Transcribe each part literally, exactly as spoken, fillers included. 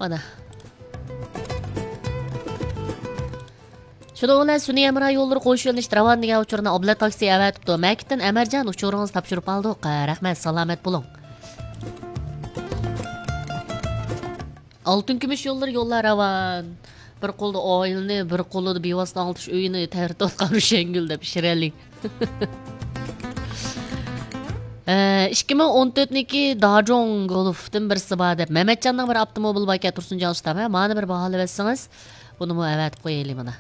مانا. شۇنىڭ بىلەن سۈنئىي ھەمراھ يوللىرى قوشۇۋېلىنىشتا راۋان دېگەن ئۇچۇرنى ئابلەت تاكسى ئەۋەتىپتۇ. مەكىتتىن ئەمەرجان، ئۇچۇرىڭىزنى تاپشۇرۇپ ئالدۇق. رەھمەت، سالامەت بولۇڭ. ئالتۇن كۈمۈش يوللىرى يوللار راۋان. بىر قولدا ئائىلىنى، بىر قولىدا بىۋاسىتە ئاڭلىتىش ئۆيىنى تەۋرىتىۋاتقان روشەنگۈل دەپ شىرەلى. ئىككى مىڭ ئون تۆتنىڭكى داجوڭ گولفتىن بىرسى بار دەپ، مەمەتجاننىڭ بىر ئاپتوموبىلى باركەن، تۇرسۇنجان ئۇستام، ھە، مانى بىر باھالىۋەتسىڭىز، بۇنىمۇ ئەۋەتىپ قويايلى مانا.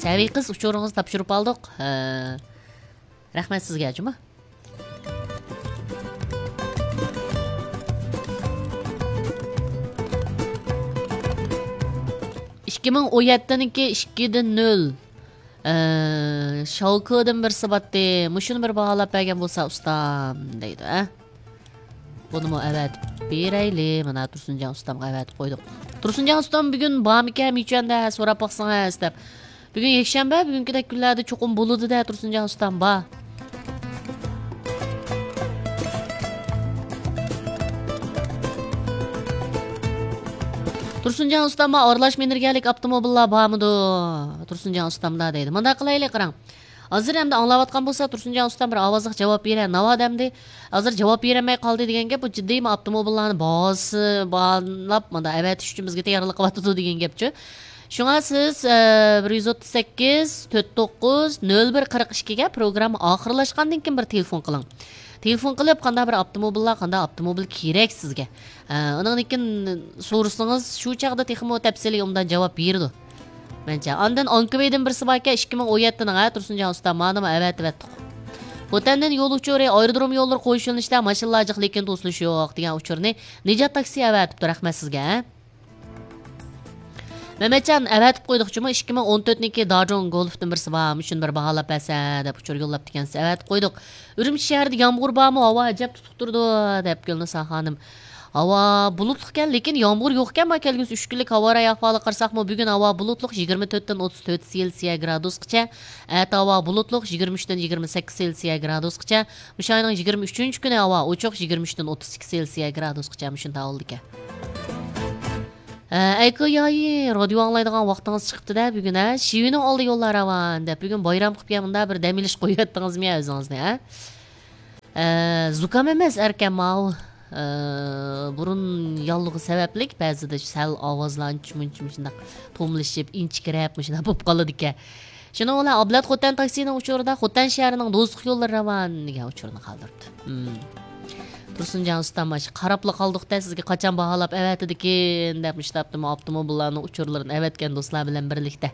سەۋىي قىز، ئۇچۇرىڭىزنى تاپشۇرۇپ ئالدۇق. ھە. رەھمەت سىزگە، جۇمۇ. ئىككى مىڭ ئون يەتتىنىڭكى ئىككىدىن نۆل. ئە، شاۋكىدىن بىرسى باتتى. مۇشۇنى بىر باھالاپ بەرگەن بولسا ئۇستام، دەيدۇ، ئە. بۇنىمۇ ئەۋەتىپ بېرەيلى. مانا تۇرسۇنجان ئۇستامغا ئەۋەتىپ قويدۇق. تۇرسۇنجان ئۇستام بۈگۈن بارمىكەن مىچۈەندە، سوراپ باقسىڭىز دەپ. بۈگۈن يەكشەنبە، بۈگۈنكىدەك كۈنلەردە چوقۇم بولىدۇ-دە، تۇرسۇنجان ئۇستام بار. تۇرسۇنجان ئۇستام بار، ئارىلاش مىنىرگەنلىك ئاپتوموبىللار بارمىدۇ؟ تۇرسۇنجان ئۇستامدا دەيدۇ. مۇنداق قىلايلى، قاراڭ. ھازىر ئەمدى ئاڭلاۋاتقان بولسا، تۇرسۇنجان ئۇستام بىر ئاۋازلىق جاۋاب بېرە. ناۋادا ئەمدى ھازىر جاۋاب بېرەلمەي قالدى دېگەن گەپ، بۇ جىددىيمۇ ئاپتوموبىللارنى باھاسى باھالاپ مانا ئەۋەتىش ئۈچۈن بىزگە تەييارلىق قىلىۋاتىدۇ دېگەن گەپچۇ. شۇڭا سىز، ئە، بىر يۈز ئوتتۇز سەككىز، تۆت توققۇز، نۆل بىر قىرىق ئىككىگە پروگرامما ئاخىرلاشقاندىن كېيىن بىر تېلېفون قىلىڭ. تېلېفون قىلىپ، قانداق بىر ئاپتوموبىللار، قانداق ئاپتوموبىل كېرەك سىزگە؟ ئە، ئۇنىڭدىن كېيىن سورىسىڭىز، شۇ چاغدا تېخىمۇ تەپسىلىي ئوبدان جاۋاب بېرىدۇ. مەنچە. ئاندىن ئانكىۋېيدىن بىرسى باركەن، ئىككى مىڭ ئون يەتتىنىڭ، ھە، تۇرسۇنجان ئۇستا، مانىمۇ ئەۋەتىۋەتتۇق. خوتەندىن يول ئۇچۇرى، ئايرودروم يوللىرى قويۇش يۆنىلىشىدە ماشىنىلار جىق، لېكىن توسۇلۇش يوق دېگەن ئۇچۇرنى نىجات تاكسى ئەۋەتىپتۇ، رەھمەت سىزگە، ھە. مەمەتجان، ئەۋەتىپ قويدۇق جۇمۇ، ئىككى مىڭ ئون تۆتنىڭكى داجوڭ گولفتىن بىرسى بار، مۇشۇنى بىر باھالاپ بەرسە دەپ ئۇچۇر يوللاپتىكەنسىز، ئەۋەتىپ قويدۇق. ئۈرۈمچى شەھىرىدە يامغۇر بارمۇ؟ ھاۋا ئەجەب تۇتۇپ تۇرىدۇ، دەپ گۈلنىسا خانىم. ھاۋا بۇلۇتلۇقكەن، لېكىن يامغۇر يوقكەن، ما كەلگۈسى ئۈچ كۈنلۈك ھاۋا رايى ئەھۋالىغا قارىساقمۇ، بۈگۈن ھاۋا بۇلۇتلۇق، يىگىرمە تۆتتىن ئوتتۇز تۆت سېلسىيە گرادۇسقىچە، ئەتە ھاۋا بۇلۇتلۇق، يىگىرمە ئۈچتىن يىگىرمە سەككىز سېلسىيە گرادۇسقىچە، مۇشۇ ئاينىڭ يىگىرمە ئۈچىنچى كۈنى ھاۋا ئوچۇق، يىگىرمە ئۈچتىن ئوتتۇز ئىككى سېلسىيە گرادۇسقىچە مۇشۇنداق بولىدىكەن. ھە، ئەيكۆ يايى، رادىيو ئاڭلايدىغان ۋاقتىڭىز چىقىپتۇ-دە بۈگۈن، ھە؟ شىۋىنىڭ ئالدى يوللار راۋان دەپ، بۈگۈن بايرام قىلىپ يا مۇنداق بىر دەم ئېلىش قويۇۋەتتىڭىزمۇ يا ئۆزىڭىزنى، ھە؟ ئە، زۇكام ئەمەس ئەركەن ماۋۇ. ئە، بۇرۇن ياللۇغى سەۋەبلىك بەزىدە سەل ئاۋازلار ئانچە-مۇنچە مۇشۇنداق توملىشىپ، ئىنچىكىرەپ مۇشۇنداق بولۇپ قالىدىكەن. شۇنىڭ بىلەن ئابلەت خوتەن تاكسىنىڭ ئۇچۇرىدا خوتەن شەھىرىنىڭ دوزۇخ يوللىرى راۋان دېگەن ئۇچۇرنى قالدۇرۇپتۇ. ھىم. تۇرسۇنجان ئۇستام، ئاشۇ قاراپلا قالدۇق-دە، سىزگە قاچان باھالاپ ئەۋەتىدىكىن دەپ، مۇشۇنداق ئاپتوموبىللارنىڭ ئۇچۇرلىرىنى ئەۋەتكەن دوستلار بىلەن بىرلىكتە.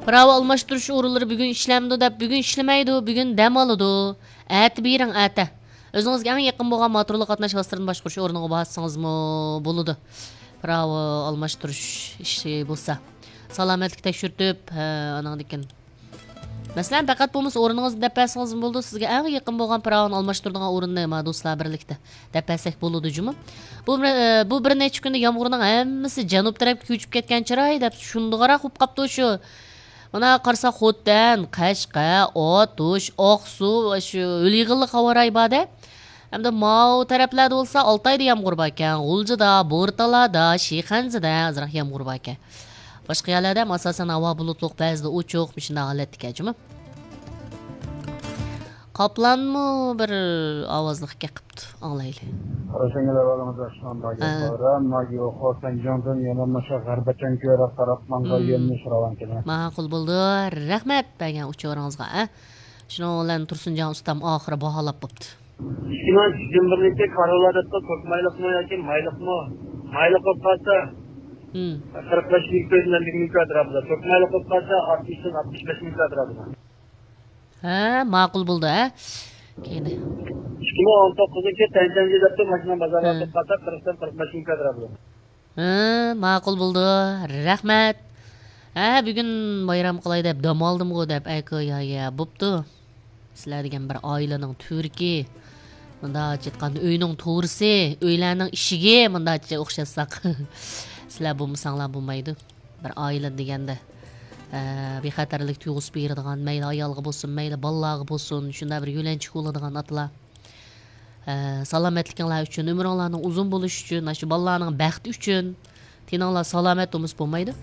پىراۋا ئالماشتۇرۇش ئورۇنلىرى بۈگۈن ئىشلەمدۇ دەپ، بۈگۈن ئىشلىمەيدۇ، بۈگۈن دەم ئالىدۇ. ئەتە بېرىڭ، ئەتە. ئۆزىڭىزگە ئەڭ يېقىن بولغان موتورلۇق قاتناش ۋاسىتىلىرىنى باشقۇرۇش ئورنىغا بارسىڭىزمۇ بولىدۇ. پىراۋا ئالماشتۇرۇش ئىشى بولسا. سالامەتلىك تەكشۈرتۈپ، ھە، ئانىڭدىن كېيىن. مەسىلەن، پەقەت بولمىسا ئورنىڭىزنى دەپ بەرسىڭىزمۇ بولىدۇ. سىزگە ئەڭ يېقىن بولغان پىراۋىنى ئالماشتۇرىدىغان ئورۇننى ما دوستلار بىرلىكتە دەپ بەرسەك بولىدۇ جۇمۇ. بۇ، بىر- بۇ بىر نەچچە كۈندە يامغۇرنىڭ ھەممىسى جەنۇب تەرەپكە كۆچۈپ كەتكەن چىراي دەپ شۇندىغاراق بولۇپ قاپتۇ شۇ. مانا قارىسا، خوتەن، قەشقەر، ئاتۇش، ئاقسۇ، شۇ ھۆل يېغىنلىق ھاۋا رايى بار-دە. ئەمدى ماۋۇ تەرەپلەردە بولسا ئالتايدا يامغۇر باركەن، غۇلجىدا، بورتالادا، شىخەنزىدە ئازراق يامغۇر باركەن. باشقا يەرلەردە ھەم ئاساسەن ھاۋا بۇلۇتلۇق، بەزىدە ئوچۇق، مۇشۇنداق ھالەتتىكەن جۇمۇ. قاپلانمۇ بىر ئاۋازلىق گەپ قىپتۇ، ئاڭلايلى. روشەنگۈل ئەھۋالىڭىز ياخشىمۇ؟ ھە. ماگىيوخو سەنجىڭدىن يەنە مۇشۇ غەربىچەن كۆرۈپ تاراتمانغا يۆنىلىش راۋانكىنى. ماقۇل بولدى. رەھمەت بەرگەن ئۇچۇرىڭىزغا، ھە. شۇنىڭ بىلەن تۇرسۇنجان ئۇستام ئاخىرى باھالاپ بوپتۇ. ئىككى مىڭ يىگىرمە بىرنىڭكى كارولادىكى توك مايلىقمۇ ياكى مايلىقمۇ؟ مايلىق بولۇپ قالسا، ھىم. قىرىق بەش مىڭ تۆت يۈز ئەللىك مىڭ كۋادرات بولىدۇ. توك مايلىق بولۇپ قالسا، ئاتمىشتىن ئاتمىش بەش مىڭ كۋادرات بولىدۇ. ھە، ماقۇل بولدى، ھە. كەينى. ئىككى مىڭ ئون توققۇزنىڭكى تەنچەنجى دەپتۇ، ماشىنا بازارغا ھە. توختاتسا، قىرىقتىن قىرىق بەش مىڭ كۋادرات بولىدۇ. ھە، ماقۇل بولدى. رەھمەت. ھە، بۈگۈن بايرام قىلاي دەپ دەم ئالدىمغۇ دەپ، ئەكۇ يا، يا، بوپتۇ. سىلەر دېگەن بىر ئائىلىنىڭ تۈۋرۈكى. مۇنداق ئېيتقاندا، ئۆينىڭ تورىسى، ئۆيلەرنىڭ ئىشىكى، مۇنداقچە ئوخشاتساق. سىلەر بولمىساڭلار بولمايدۇ. بىر ئائىلە دېگەندە. ئە، بىخەتەرلىك تۇيغۇسى بېرىدىغان، مەيلى ئايالغا بولسۇن، مەيلى بالىلارغا بولسۇن، شۇنداق بىر يۆلەنچۈك بولىدىغان ئاتىلار. ئە، سالامەتلىكىڭلار ئۈچۈن، ئۆمرۈڭلارنىڭ ئۇزۇن بولۇشى ئۈچۈن، ئاشۇ بالىلارنىڭ بەختى ئۈچۈن، تېنىڭلار سالامەت بولمىسا بولمايدۇ.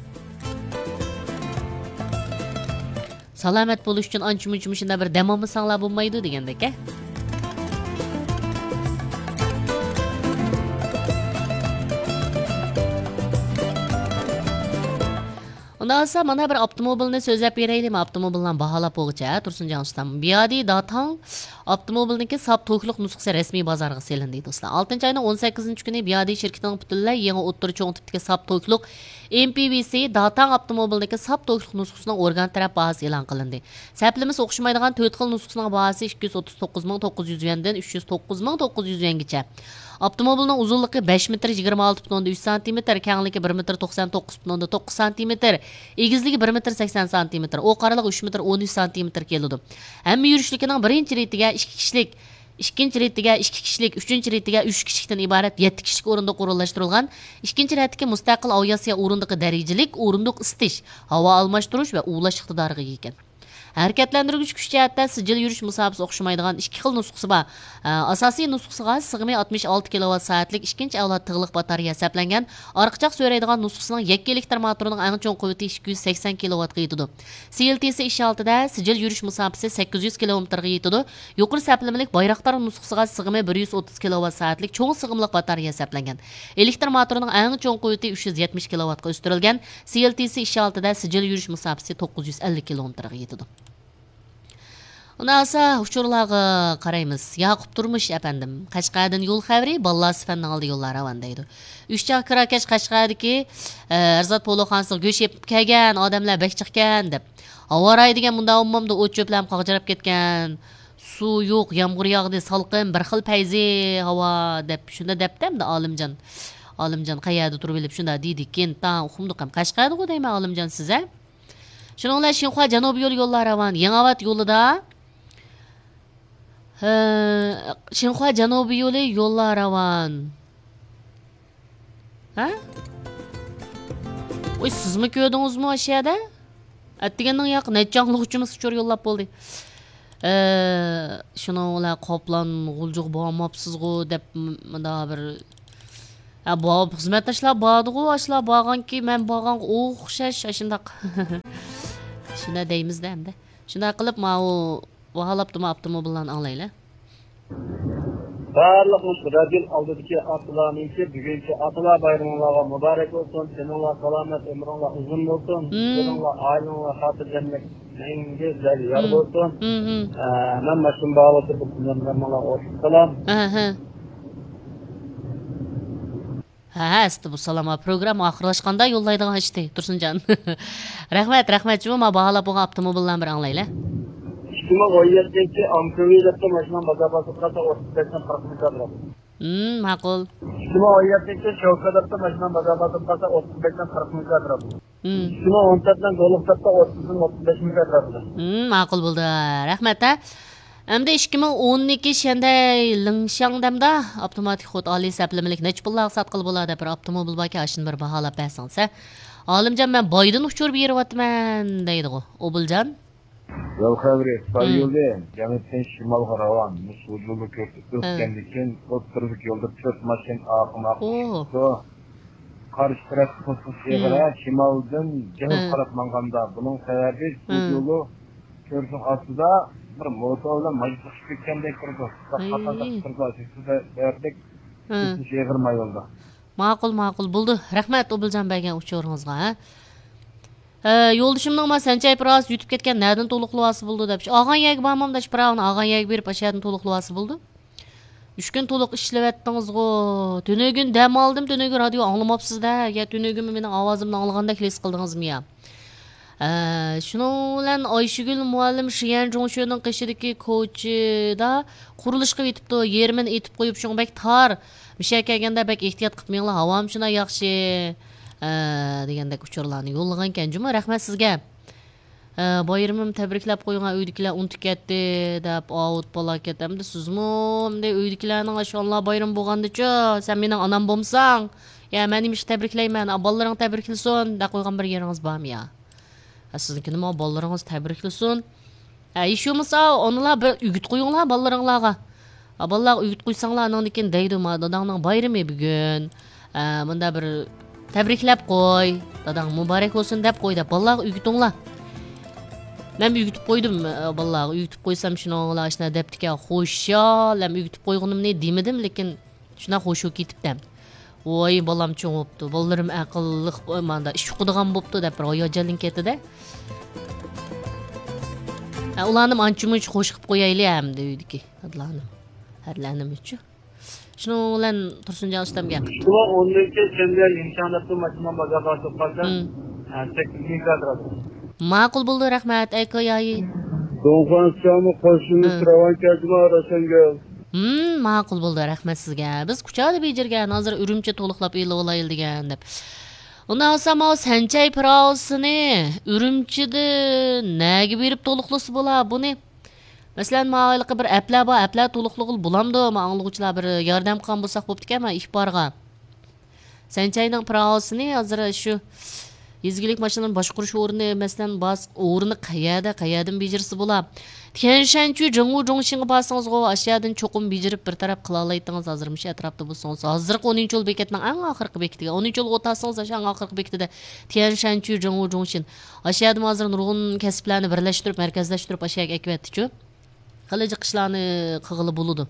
سالامەت بولۇش ئۈچۈن ئانچە-مۇنچە مۇشۇنداق بىر دەم ئالمىساڭلار بولمايدۇ دېگەندەك، ھە؟ ئۇنداق بولسا، مانا بىر ئاپتوموبىلنى سۆزلەپ بېرەيلى. مەن ئاپتوموبىلنى باھالاپ بولغۇچە، ھە، تۇرسۇنجان ئۇستام. بىيادى داتاڭ ئاپتوموبىلنىڭكى ساپ توكلۇق نۇسخىسى رەسمىي بازارغا سېلىندى، دوستلار. ئالتىنچى ئاينىڭ ئون سەككىزىنچى كۈنى بىيادى شىركىتىنىڭ پۈتۈنلەي يېڭى ئوتتۇرا چوڭ تىپتىكى ساپ توكلۇق ئېم پى ۋى سى داتاڭ ئاپتوموبىلىنىڭكى ساپ توكلۇق نۇسخىسىنىڭ ئورگان تەرەپ باھاسى ئېلان قىلىندى. سەپلىمىسى ئوخشىمايدىغان تۆت خىل نۇسخىسىنىڭ باھاسى ئىككى يۈز ئوتتۇز توققۇز مىڭ توققۇز يۈز يۈەندىن ئۈچ يۈز توققۇز مىڭ توققۇز يۈز يۈەنگىچە. ئاپتوموبىلنىڭ ئۇزۇنلۇقى بەش مېتىر يىگىرمە ئالتە پۈتۈن ئوندىن ئۈچ سانتىمېتىر، كەڭلىكى بىر مېتىر توقسان توققۇز پۈتۈن ئوندىن توققۇز سانتىمېتىر، ئېگىزلىكى بىر مېتىر سەكسەن سانتىمېتىر، ئوق ئارىلىقى ئۈچ مېتىر ئون ئۈچ سانتىمېتىر كېلىدۇ. ھەممە يۈرۈشلۈكىنىڭ بىرىنچى رېتىگە ئىككى كىشىلىك، ئىككىنچى رېتىگە ئىككى كىشىلىك، ئۈچىنچى رېتىگە ئۈچ كىشىلىكتىن ئىبارەت يەتتە كىشىلىك ئورۇندۇق ئورۇنلاشتۇرۇلغان ئىككىنچى رەتتىكى مۇستەقىل ئاۋىئاتسىيە ئورۇندۇقى دەرىجىلىك ئورۇندۇق ئىسىتىش، ھاۋا ئالماشتۇرۇش ۋە ئۇۋۇلاش ئىقتىدارىغا ئىگە ئىكەن. ھەرىكەتلەندۈرگۈچ كۈچ جەھەتتە سىجىل يۈرۈش مۇساپىسى ئوخشىمايدىغان ئىككى خىل نۇسخىسى بار. ئاساسىي نۇسخىسىغا سىغىمى ئاتمىش ئالتە كىلوۋات سائەتلىك ئىككىنچى ئەۋلاد تىغلىق باتارېيە ھېسابلانغان. ئارقىچاق سۆرەيدىغان نۇسخىسىنىڭ يەككە ئېلېكتر موتورىنىڭ ئەڭ چوڭ قۇۋۋىتى ئىككى يۈز سەكسەن كىلوۋاتقا يېتىدۇ. سى ئېل تى سى ئىش ھالىتىدە سىجىل يۈرۈش مۇساپىسى سەككىز يۈز كىلومېتىرغا يېتىدۇ. يۇقىرى سەپلىمىلىك بايراقدار نۇسخىسىغا سىغىمى بىر يۈز ئوتتۇز كىلوۋات سائەتلىك چوڭ سىغىملىق باتارېيە ھېسابلانغان. ئېلېكتر موتورىنىڭ ئەڭ چوڭ قۇۋۋىتى ئۈچ يۈز يەتمىش كىلوۋاتقا ئۆستۈرۈلگەن. سى ئېل تى سى ئىش ھالىتىدە سىجىل يۈرۈش مۇساپىسى توققۇز يۈز ئەللىك كىلومېتىرغا يېتىدۇ. ئۇنداق بولسا، ئۇچۇرلارغا قارايمىز. ياقۇپ تۇرمۇش ئەپەندىم، قەشقەردىن يول خەۋىرى، باللا سىفەندىڭ ئالدى يوللار راۋان دەيدۇ. ئۈچ چاغ كىراكەش قەشقەردىكى، ئە، ھەرزات پولۇخانىسىغا گۆش ئېپىپ كەلگەن ئادەملەر بەك جىقكەن دەپ. ھاۋاراي دېگەن مۇنداق بولمامدۇ، ئوت چۆپلەرمۇ قاغجىراپ كەتكەن. سۇ يوق، يامغۇر ياغدى، سالقىن، بىر خىل پەيزى ھاۋا دەپ شۇنداق دەپتۇ ئەمدى ئالىمجان. ئالىمجان قەيەردە تۇرۇپ ئېلىپ شۇنداق دېدىكىن، تاڭ ئۇقمىدۇق ھەم. قەشقەردىغۇ دەيمەن ئالىمجان سىز ھە؟ شۇنىڭ بىلەن شىنخۇا جەنۇبىي يولى يوللار راۋان، يېڭىئاۋات يولىدا، ھە، شىنخۇا جەنۇبىي يولى يوللار راۋان. ھە؟ ۋوي، سىزمۇ كۆردىڭىزمۇ ئاشۇ يەردە؟ ئەتىگەننىڭ ياقى نەچچە ئاڭلىغۇچىمىز ئۇچۇر يوللاپ بولدى. ئە، شۇنىڭ بىلەن قاپلان غۇلجىغا بارماپسىزغۇ دەپ م-، مۇنداق بىر، ھە، بار، خىزمەتداشلار باردىغۇ، ئاشۇلار بارغانكى مەن بارغانغا ئوخشاش، ئاشۇنداق. شۇنداق دەيمىز-دە ئەمدى. شۇنداق قىلىپ ماۋۇ باھالاپتىمۇ ئاپتوموبىللارنى ئاڭلايلى. بارلىق مۇشۇ رادىيو ئالدىدىكى ئاتىلارنىڭكى بۈگۈنكى ئاتىلار بايرىمىڭلارغا مۇبارەك بولسۇن. تېنىڭلار سالامەت، ئۆمرۈڭلار ئۇزۇن بولسۇن. مم. ئۆزۈڭلار، ئائىلىڭلار خاتىرجەملىك، مەڭگۈ دەل يار مم. بولسۇن. مم، مم. ئە، مەن ماشىنا باھالىۋاتىدۇ، بۇ كۈنلەرنى ماڭا ئوشۇق سالام. ئەھە. ھە، ھە، ئەستە بۇ سالام، پروگرامما ئاخىرلاشقاندا يوللايدىغان ئىشتى، تۇرسۇنجان. رەھمەت، رەھمەت، جۇمۇ، ما باھالاپ بولغان ئاپتوموبىللارنى بىر ئاڭلايلى. ئىككى مىڭ ئون يەتتىنچى ئامپېۋى دەپتۇ ماشىنام بازار باسىپ قالسا ئوتتۇز بەشتىن قىرىق مىڭ كاتراپ. ھىم، ماقۇل. ئىككى مىڭ ئون يەتتىنچى شوكا دەپتۇ ماشىنام بازار باسىپ قالسا ئوتتۇز بەشتىن قىرىق مىڭ كاتراپ. ھىم. ئىككى مىڭ ئون تۆتنىڭ گولف دەپتۇ ئوتتۇزدىن ئوتتۇز بەش مىڭ كاتراپ. ھىم، ماقۇل بولدى. رەھمەت، ھە. ئەمدى ئىككى مىڭ ئونىكى شەندەي لىڭشياڭ دەمدا ئاپتوماتىك خود ئالىي سەپلىمىلىك نەچچە پۇللارغا ساتقىلى بولا دەپ بىر ئاپتوموبىل باركەن، ئاشۇنى بىر باھالاپ بەرسىڭىز ھە. ئالىمجان، مەن بايدىن ئۇچۇر بېرىۋاتىمەن دەيدىغۇ، ئوبۇلجان. يول خەۋىرى، خىتاي مم. يولى جەنۇبتىن شىمالغا راۋان. مۇشۇ يولدا كۆرسىتىپ ھە. ئۆتكەندىن كېيىن ئوتتۇرىدىكى يولدا تۆت ماشىنا ئارقىما ئوھ. ئارقىشىپ قارشى تەرەپتە توسۇش ئېغىر، ھە، شىمالدىن جەنۇبقا قاراپ ماڭغاندا، بۇنىڭ سەۋەبى بۇ يولى كۆرۈشنىڭ ئاستىدا بىر موتور بىلەن ماشىنا چىقىپ كەتكەندەك تۇرىدۇ. قاتاردا تۇرىدۇ، شۇ سەۋەبلىك توسۇش ئېغىر ما يولدا. ماقۇل، ماقۇل، بولدى. رەھمەت ئوبۇلجان بەرگەن ئۇچۇرىڭىزغا، ھە. ئە، يولدىشىمنىڭ ما سەنچەيپ راست يۈتۈپ كەتكەن، نەدىن تولۇقلىۋالسا بولىدۇ دەپ. ئالغان يەرگە بارمامدا، شۇ پىراۋىنى ئالغان يەرگە بېرىپ، ئاشۇ يەردىن تولۇقلىۋالسا بولىدۇ. ئۈچ كۈن تولۇق ئىشلىۋەتتىڭىزغۇ. تۈنۈگۈن دەم ئالدىم، تۈنۈگۈن رادىيو ئاڭلىماپسىز-دە. يا تۈنۈگۈنمۇ مېنىڭ ئاۋازىمنى ئاڭلىغاندەك ھېس قىلدىڭىزمۇ يا؟ ئە، شۇنىڭ بىلەن ئايشىگۈل مۇئەللىم شيەن جۇڭشۆنىڭ قېشىدىكى كوچىدا قۇرۇلۇشقا ئېتىپتۇ. يېرىمىنى ئېتىپ قويۇپ، شۇڭا بەك تار. مىشە كەلگەندە بەك ئېھتىيات قىپ مېڭىڭلار، ھاۋامۇ شۇنداق ياخشى، ئە، دېگەندەك ئۇچۇرلارنى يوللىغانىكەن جۇمۇ. رەھمەت سىزگە. ئە، بايرىمىم تەبرىكلەپ قويۇڭا، ئۆيدىكىلەر ئۇنتۇپ كەتتى دەپ، ئاۋۇت پالاكەت. ئەمدى سىزمۇ، ئەمدى ئۆيدىكىلەرنىڭ ئاشۇ ئانىلار بايرىمى بولغاندىچۇ، سەن مېنىڭ ئانام بولمىساڭ، يا مەن نېمىشقا تەبرىكلەيمەن، ئا، بالىلىرىڭ تەبرىكلىسۇن دەپ قويغان بىر يېرىڭىز بارمۇ يا؟ سىزنىڭكىنى ماڭا بالىلىرىڭىز تەبرىكلىسۇن. ھە، ھېچ بولمىسا ئانىلار بىر ئۆگىت قويۇڭلار بالىلىرىڭلارغا. ھە، بالىلارغا ئۆگىت قويساڭلار، ئانىڭدىن كېيىن دەيدۇ، ما داداڭنىڭ بايرىمى بۈگۈن. ھە، مۇندا بىر تەبرىكلەپ قوي، داداڭ مۇبارەك بولسۇن دەپ قوي دەپ بالىلارغا ئۆگىتىڭلار. مەن ئۆگىتىپ قويدۇم، ئە، بالىلارغا ئۆگىتىپ قويسام شۇنىڭغىلا ئاشۇنداق دەپتىكەن، خوشال، ھەم ئۆگىتىپ قويغىنىمنى دېمىدىم، لېكىن شۇنداق خوش بولۇپ كېتىپتىمەن. ۋاي، بالام چوڭ بوپتۇ، بالىلىرىم ئەقىللىق، ماندا ئىش ئۇقىدىغان بوپتۇ دەپ بىر ھاياجانلىنىپ كەتتى-دە. ھە، ئۇلارنىمۇ ئانچە-مۇنچە خوش قىلىپ قويايلى ئەمدى ئۆيدىكى دادىلارنى. ھەرلەرنىمۇچۇ. شۇنىڭ بىلەن تۇرسۇنجان ئۇستام گەپ. شۇڭا ئوندىن كېيىن سەندە يېڭىشاڭلىقتىن ماشىنا بازارغا سوققاندا، ھە، سەككىز مىڭ كاتراپ. ماقۇل بولدى، رەھمەت، ئەي كويايى. دۇڭخۇەن سىچاڭمۇ قوشۇننى سىراۋان كەلدىما رەسەنگە. ھىم، ماقۇل بولدى، رەھمەت سىزگە. بىز كۇچادا بېجىرگەن، ھازىر ئۈرۈمچى تولۇقلاپ ئېلىۋالايلى دېگەن دەپ. ئۇنداق بولسا ماۋۇ سەنچەي پىراۋىسىنى ئۈرۈمچىدە نەگە بېرىپ تولۇقلىسا بولا بۇنى؟ مەسىلەن، ماۋۇ ھېلىقى بىر ئەپلەر بار، ئەپلەر تولۇقلىغىلى بولامدۇ؟ ما ئاڭلىغۇچىلار بىر ياردەم قىلغان بولساق بوپتىكەن، ما ئىپارغا. سەنچەينىڭ پىراۋىسىنى ھازىر شۇ يېزا ئىگىلىك ماشىنىلىرىنى باشقۇرۇش ئورنى، مەسىلەن، باس-، ئورنى قەيەردە، قەيەردىن بېجىرسە بولا؟ تيەنشەنچۈ جېڭۋۇ جۇڭشىنغا بارسىڭىزغۇ، ئاشۇ يەردىن چوقۇم بېجىرىپ بىر تەرەپ قىلالايتتىڭىز، ھازىر مۇشۇ ئەتراپتا بولسىڭىز. ھازىرقى ئون ئىنچى يول بېكەتنىڭ ئەڭ ئاخىرقى بېكىتىگە، ئون ئىنچى يولغا ئولتۇرسىڭىز، ئاشۇ ئەڭ ئاخىرقى بېكىتىدە تيەنشەنچۈ جېڭۋۇ جۇڭشىن. ئاشۇ يەردىمۇ ھازىر نۇرغۇن كەسىپلەرنى بىرلەشتۈرۈپ، مەركەزلەشتۈرۈپ، ئاشۇ يەرگە ئەكىۋەتتىچۇ. خېلى جىق ئىشلارنى قىلغىلى بولىدۇ.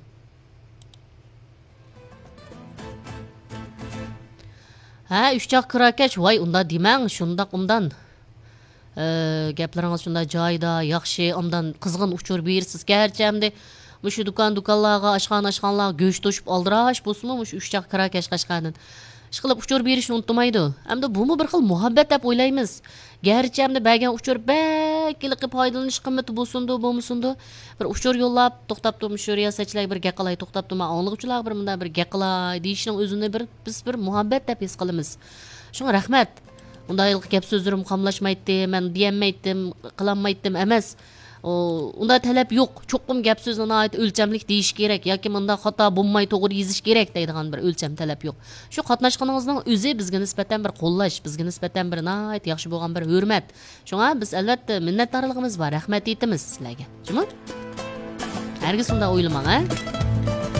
ھە، ئۈچ چاق كىراكەش، ۋاي، ئۇنداق دېمەڭ، شۇنداق ئۇندان. ئە، گەپلىرىڭىز شۇنداق جايىدا، ياخشى، ئاندان قىزغىن ئۇچۇر بېرىسىز. گەرچە ئەمدى مۇشۇ دۇكان-دۇكانلارغا، ئاشخانا-ئاشخانىلارغا گۆش توشۇپ ئالدىراش بولسىمۇ، مۇشۇ ئۈچ چاق كىراكەش قەشقەردىن ئىشقىلىپ ئۇچۇر بېرىشنى ئۇنتۇمايدۇ. ئەمدى بۇمۇ بىر خىل مۇھەببەت دەپ ئويلايمىز. گەرچە ئەمدى بەرگەن ئۇچۇر بەك ھېلىقى پايدىلىنىش قىممىتى بولسۇندۇ، بولمىسۇندۇ، بىر ئۇچۇر يوللاپ، توختاپتۇ، مۇشۇ رىياسەتچىلەرگە بىر گەپ قىلاي، توختاپتۇ، ما ئاڭلىغۇچىلارغا بىر مۇنداق بىر گەپ قىلاي دېيىشنىڭ ئۆزىنى بىر، بىز بىر مۇھەببەت دەپ ھېس قىلىمىز. شۇڭا رەھمەت. ئۇنداق ھېلىقى گەپ سۆزلىرىم قاملاشمايتتى، مەن دېيەلمەيتتىم، قىلالمايتتىم ئەمەس. ئۇ، ئۇنداق تەلەپ يوق. چوقۇم گەپ سۆزنى ناھايىتى ئۆلچەملىك دېيىش كېرەك ياكى مۇنداق خاتا بولماي توغرا يېزىش كېرەك دەيدىغان بىر ئۆلچەم تەلەپ يوق. شۇ قاتناشقىنىڭىزنىڭ ئۆزى بىزگە نىسبەتەن بىر قوللاش، بىزگە نىسبەتەن بىر ناھايىتى ياخشى بولغان بىر ھۆرمەت. شۇڭا بىز ئەلۋەتتە مىننەتدارلىقىمىز بار، رەھمەت ئېيتىمىز سىلەرگە. جۇمۇ؟ ھەرگىز ئۇنداق ئويلىماڭ، ھە؟